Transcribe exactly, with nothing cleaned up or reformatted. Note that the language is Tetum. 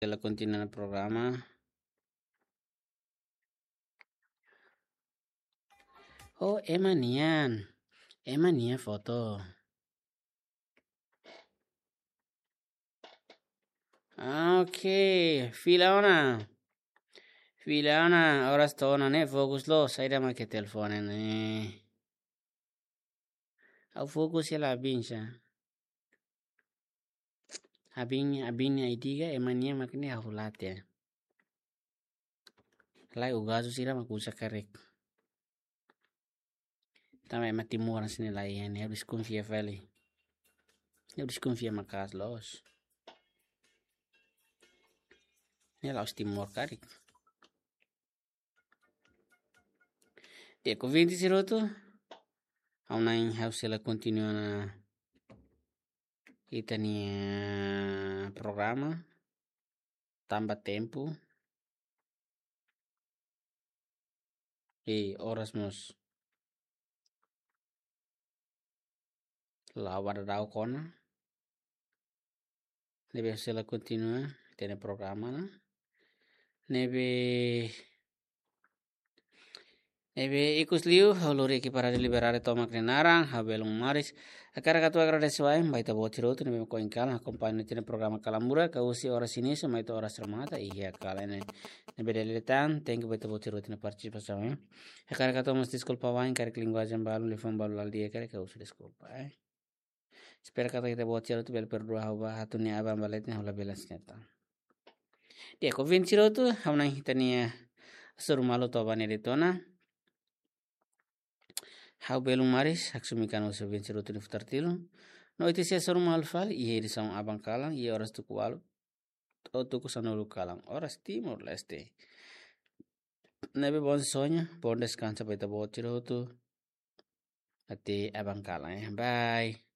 Hela kontinua ona programa. Oh, ema nian. Ema nian foto. Ah, oke, fila ona. Fila ona, oras to'o ona ne'e fokus loos, saida mak iha telefone ne'e. Ha'u fokus hela abin sa. Abin, abin nia idea, ema nian mak ne'e ha'u la hatene. Lae, o gazu sira mak uza karik. Tanba ema Timor sini lae, ne'e ha'u deskonfia fali. Ha'u deskonfia maka'as loos. Ne'e la'ós Timor karik. Di'ak, ouvinte sira hotu, ha'u na'in ha'u sei la kontinua ona ita-nia programa tanba tempu. I oras mós la'o ba daudaun ona. Ne'ebé sei la kontinua ita-nia programa ne'e. Ne'ebé, ne'ebé ikus liu, ha'u lori ekipa Rádiu Liberdade tomak nia naran, ha'u belun Maris. Hakarak atu agradese wa'in ba ita-boot sira hotu ne'ebé mak ohin kalan akompaña ita-nia programa Kalan Murak, husi oras inísiu mai to'o oras remata, iha kalan ne'e. Ne'ebé dala ida tan, thank you ba ita-boot sira hotu nia partisipasaun, eh. Hakarak atu mós deskulpa wa'in, karik linguajen balu, liafuan balu la di'ak, hakarak atu husu deskulpa, eh. Espera katak ita-boot sira hotu bele perdua ha'u ba, ha'u-nia aban ba leten ha'u labele aserta. Di'ak, ouvinte sira hotu, ha'u na'in ita-nia hasoru malu to'o ba ne'e de'it ona. Ha'u belun Maris, haksolok mai husi ouvinte sira hotu nia futar tilun. No ita sei hasoru malu fali, iha edisaun aban kalan, iha oras tuku ualu to'o tuku sanulu kalan, oras Timor-Leste. Ne'ebé bom sonho, bom descanso ba ita-boot sira hotu. Até aban kalan, eh. Bye.